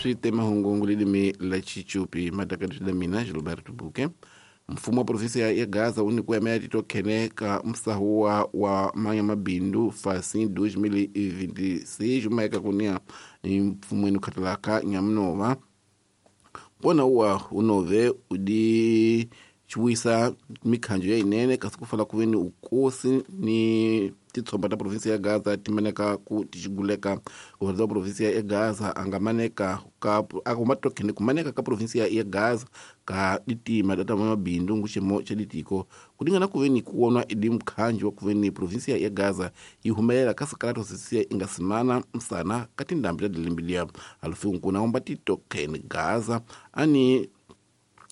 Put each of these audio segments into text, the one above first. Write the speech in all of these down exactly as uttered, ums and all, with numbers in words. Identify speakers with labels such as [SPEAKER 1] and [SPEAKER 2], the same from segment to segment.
[SPEAKER 1] Swi mahungu lilimi la Chichupi matakati la mina Gilberto Buke. Mfumo wa provinsi ya Gaza wu nyikiwe ya titokhene ka msahuwa wa manya mabindu fasi dois mil e vinte e seis maeka kunia mfumweni khatalaka nyamunova kona uwa unove udi chiwisa mikhanjo ya inene kasi kufala kuveni ukosi ni titsomba ta provinsi ya Gaza timaneka ku tichiguleka kuvarza provinsi ya Gaza angamaneka ka akumatokene kumaneka ka provinsi ya Gaza ka ditima data mabindu nguchemo cha ditiko kulingana kuveni kuonwa idi mkhanjo kuveni provinsi ya Gaza ihumelela kasakalato sisia ingasimana msana kati ndambi ta dilimbilia alufu nkuna omba titokene Gaza ani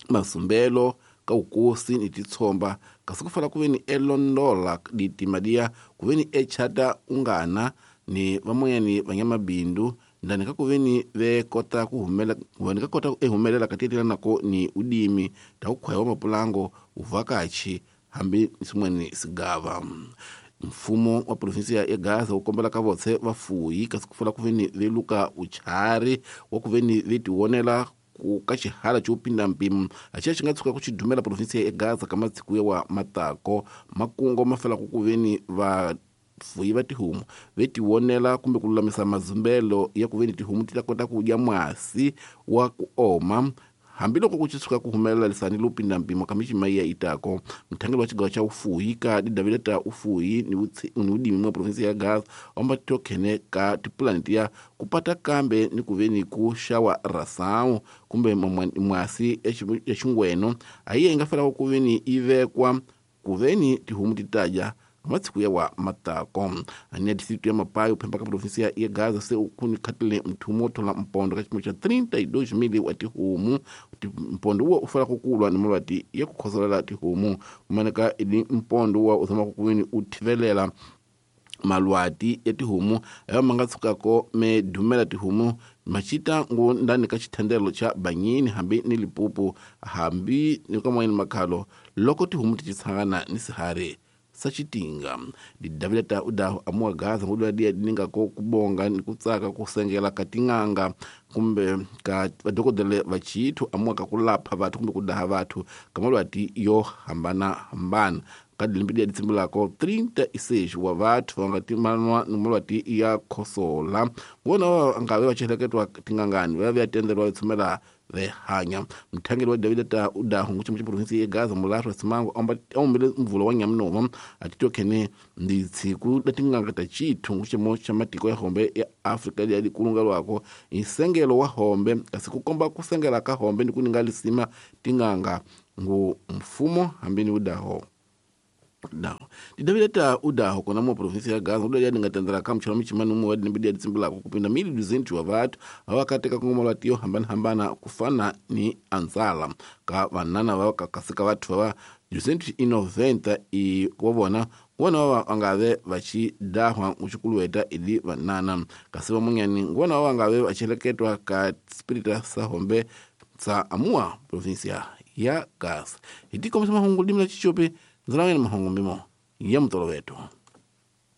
[SPEAKER 1] masumbelo ka ukosi ni titsomba kasi kufala kuveni elondola ditimadia kuveni echata ungana ni vamoyani vanyamabindu ndani kakuveni vekota kuhumela kuveni kakota ehumelela katiyetela nako ni udimi takukhwaya mapulango uvakachi hambi simweni sigava. Mfumo wa provinsi ya Gaza ukombela ka votse vafuyi kasi kufala kuveni veluka uchari wa kuveni vetiwonela ku ka xihala xo pinda mpimo axiya xi nga tshuka ku xi dumela provinsi ya Gaza ka masiku ya matako makungo ma fela ku kuveni va fuyi va tihomu ve tiwonela kumbe ku lulamisa mazumbelo ya kuveni tihomu ti ta kota ku dya mwasi wa ku oma hambiloko ku tshuka ku humelela lisani lo pinda mpimo ka mixima ya itako. Mthangelo wa xigawa xa ufuyi ka didavile ta ufuyi ni ni udimi mwa provinsi ya Gaza omba tokhene ka tipulani tiya kupata kambe ni kuveni ku xawa rasawu kumbe mwasi ya xingweno ayiye inga fela kuveni ivekwa kuveni tihomu titaja matsiku ya wa matako. Ania distrito ya Mapayo phemba ka provinsi ya Gaza se ukuni khatile mthumo thola mpondo ka xipimo xa trinta e dois mil wa tihomu mpondo wa ufala kukulwa ni malwati ya kukhosolela tihomu kumaneka ili mpondo wa uzama kukuweni uthivelela malwati ya tihomu ayo manga tsukako me dumela tihomu machita ngu ndani ka xithandelo xa banyini hambi ni lipupu hambi ni ka moyeni makhalo loko tihomu ti tshangana ni sihari sachitinga didavileta udaho amuwa Gaza ngudwa dia dininga ko kubonga ni kutsaka kusengela katinganga kumbe ka vadokodele vachithu amuwa ka kulapha vathu kumbe kudaha vathu kamalwati yo hambana hambana ka dilimbi dia ditsimulako trinta e seis wa vathu vanga timanwa ni malwati ya khosola ngona ngabe vacheleketwa tingangani va vya tendelwa tshumela vehanya. Mthangeli wa David ta udaho nguchimo cha provinsi ya Gaza mulahlo simango omba ombele mvulo wa nyamunova atitokhene ndi tsiku latinganga ta chithu nguchimo cha matiko ya hombe ya Afrika ya dikulunga lwako isengelo wa hombe kasi kukomba kusengela ka hombe ndikuninga lisima tinganga ngu mfumo hambini udaho. Daho. Didavileta udaho kona mo provinsi ya Gaza udaho yadinga tendela ka mchalo michimani umu wadi nibidi yaditsimbula kupinda mili duzentu wa vatu awakateka kungoma lwatiyo hambana hambana kufana ni anzala ka vanana wa kakasika watu wa duzentu inoventa i wabona wana wa angave vachi dahwa uchukuluweta ili vanana kasiwa munyani wana wa angave vacheleketwa ka spirita sa hombe sa amua provinsia ya Gaza. Hitiko msama hungu limla chichope nzalawena mahungu mbimo ya mtolo wetu.